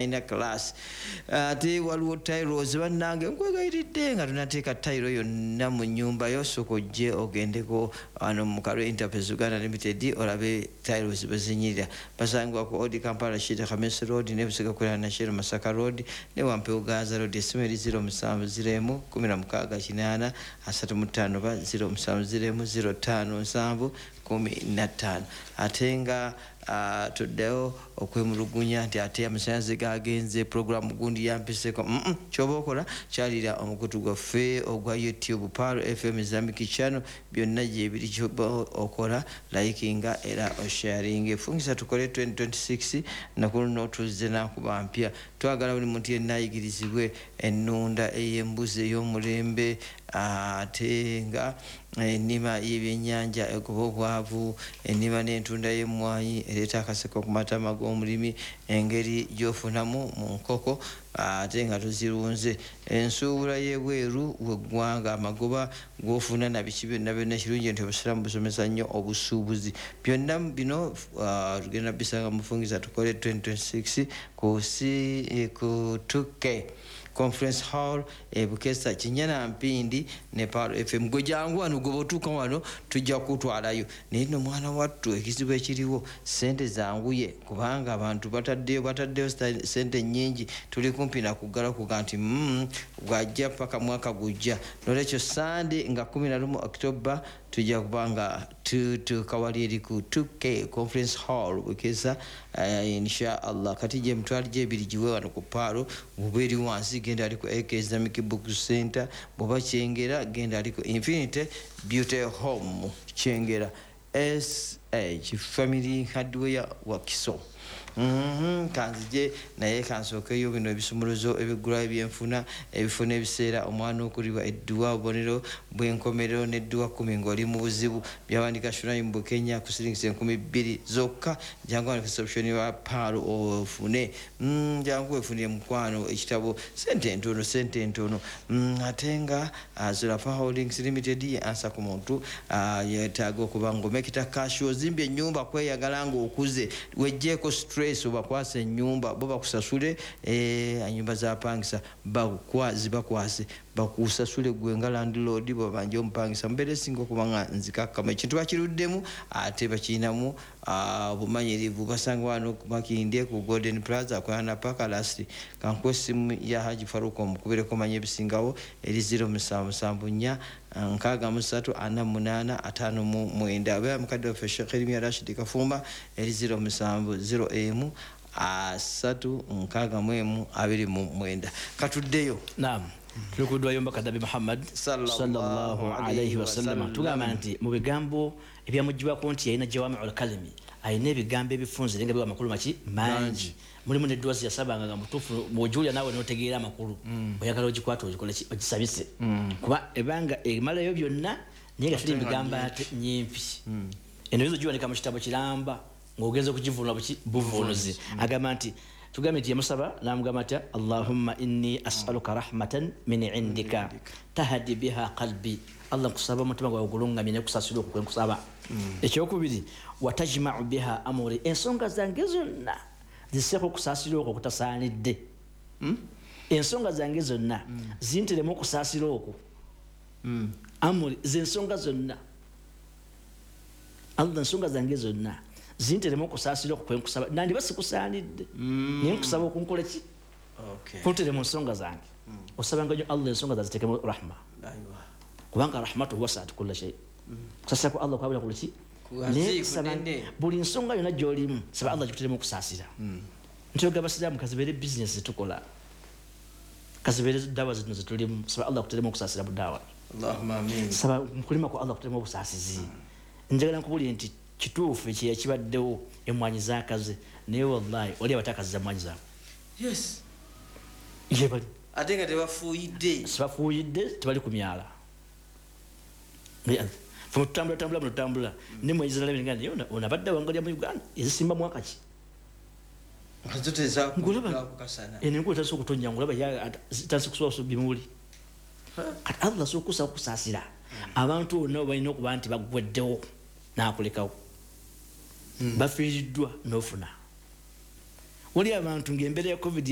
Ina class ate waliwo tiles. Bannange, nkwegayiridde nga tonateeka tayiro yonna mu nyumba yo, sooka ojje ogendeko wano mu Kalo Enterprise Uganda Limited olabe tiles bwe zinyirira. Basangibwa ku Old Kampala, Shida Khamis Road, ne Busiga kulana na Shero Masaka Road ne Wampewo Gaza Road. Essimu eri 0701 16 80 35 ba 0701 05 7 15. Ate nga tuddeyo okwemulugunya nti ate amasanyalaze gagenze, programu gundi yampiseko. Kyoba okola, kyalira omukutu gwaffe ogwa YouTube, Pearl FM Islamic Channel, byonna gyebiri. Kyoba okola, likinga era osharinga. Efungisa Tukole 2026 nakuluno tuzze nakuba mpya. Twagala buli muntu yenna ayigirizibwe ennunda ey'embuzi ey'omulembe, ate nga ennima y'ebyennyanja egoba obwavu, ennima n'entunda y'emmwanyi ereeta akaseko ku matama g'omulimi, engeri gy'ofunamu mu nkoko ate nga tozirunze, ensuubula y'ebweru w'eggwanga, amagoba g'ofuna na biki byonna byonna. Kirungi nti Obusiraamu busomesa nnyo obusuubuzi. Byonna bino tugenda bisanga Mufungisa Tukole 2026 ku C, ku 2K Conference Hall e Bukesa, Kinyana Mpindi ne Pearl FM. Gwe jangu wano, gwe bwotuuka wano tujja kutwalayo. Naye nno mwana wattu, ekizibu ekiriwo, sente zanguye, kubanga abantu bataddeyo sente nyingi. Tuli kumpi nakuggala kuga nti bwajja paka mwaka gujja. Nolwekyo Sande nga 11 October tujja kuba nga tutuuka wali eri ku 2K Conference Hall, Bukesa, insha Allah. Kati gye emitwalo gyebiri giwe wano ku Pearl. Bwoba eri wansi, genda ali ku AK Islamic Book Center. Bwoba Kyengera, genda ali ku Infinity Beauty Home Kyengera, SH Family Hardware Wakiso. Kanzije naye kansookeyo bino ebisumuluzo ebigulayo ebyenfuna, ebifo n'ebiseera omwana okulibwa, edduwa, obubonero bw'enkomerero n'edduwa 10 ng'oli mu buzibu. Byawandika Shuraim Bukenya ku siringisa 2000 zokka. Jangu wano reception wa Pearl ofune. Jangu wefunire mukwano ekitabo, sente ntono, sente ntono. Ate nga Zulafa Holdings Limited ye ansa ku muntu yeetaaga okuba ng'omekita cash. Ozimbye ennyumba kweyagala ng'okuze, wejjeeko stress, obakwasa ennyumba bo bakusasule. Ennyumba zapangisa zibakwase bakusasule gwe nga landlord bwabanja omupangisa. Mubeera esinga okuba nga nzikakkama ekintu bakiruddemu ate bakirinamu obumanyirivu. Basanga wano Makindye ku Golden Plaza akolana paka last. Kankuwa essimu ya Haji Faruka omukubireko manya ebisingawo eri 0774 63 48 59. Abeera mukadde waffe Sheekh Erimya Rashid Kafumba eri 0701 361 29. Katuddeyo. Naam, tuli ku ddwa y'omubaka Nabbi Muhammad Sallallahu sallallahu alayhi alayhi wasallama. Wasallam. Tugamba nti mu bigambo ebyamugibwako nti yalina jawamiul kalimi, alina ebigambo ebifunze naye nga biwa amakulu maki mangi. Mulimu nedduwa zeyasabanga nga mutuufu bw'ogiwulira naawe n'otegeera amakulu, oyagala ogikwata ogikole ki? Ogisabise, kuba ebanga emalayo byonna naye nga tuli mu bigambo ate nyimpi. Eno oyinza ogiwanika mu kitabo kiramba ng'ogenza okugivunula buki buvunuzi. Agamba nti, tugambye nti yamusaba n'amugamba atya? Allahumma inni asaluka rahmatan min indika tahadi biha qalbi. Allah, nkusaba omutima gwawe gulungamye nekusasira okwo kwenkusaba. Ekyokubiri, watajmau biha amuri, ensonga zange zonna ziseeko okusaasira okwo okutasaanidde. Ensonga zange zonna zinteremu okusaasira okwo. Amuri zensonga zonna, Allah, ensonga zange zonna zinteremu okusaasira okwo kwenkusaba. Nandiba sikusaanidde, naye nkusaba okunkola ki? Kuntere mu nsonga zange. Osabanga nyo Allah ensonga zazitekemu rahma, kubanga rahmatu wasaat kulla shay. Kusasira ku Allah kwabula kuli ki? Kugazi, Naye kusaba kunene. Buli nsonga yonna gyolimu, saba Allah gikuteremu okusaasira. Nti abasiraamu, kazibeere bizinesi zetukola, kazibeere dawa zino zetulimu, saba Allah akuteremu okusaasira mu dawa. Allahumma amin. Saba mukulima ku Allah akuteremu obusaasizi. Njagala nkubulire nti kituufu ekyeya kibaddewo, emwanyi zakaze, naye wallahi oli abatakaziza mwanyi zaabwe yebali. Ate nga tebafuuyidde. Sibafuuyidde, tebali ku myala. Fe tutambula tambula muno, tutambula nemwanyi zinalabye nga naye ono abadde awangalya mu Uganda ezisimba mwaka ki? Nga zo Ngulaba tezakukasana. Eno enkuba etandise okutonya, ngulaba zitandise kusuba bimuli. Kati Allah asobola okusa okusaasira abantu bonna balina okuba nti baggweddewo n'akulekawo, bafiiriddwa n'ofuna. Wali abantu ngaembeera ya COVID.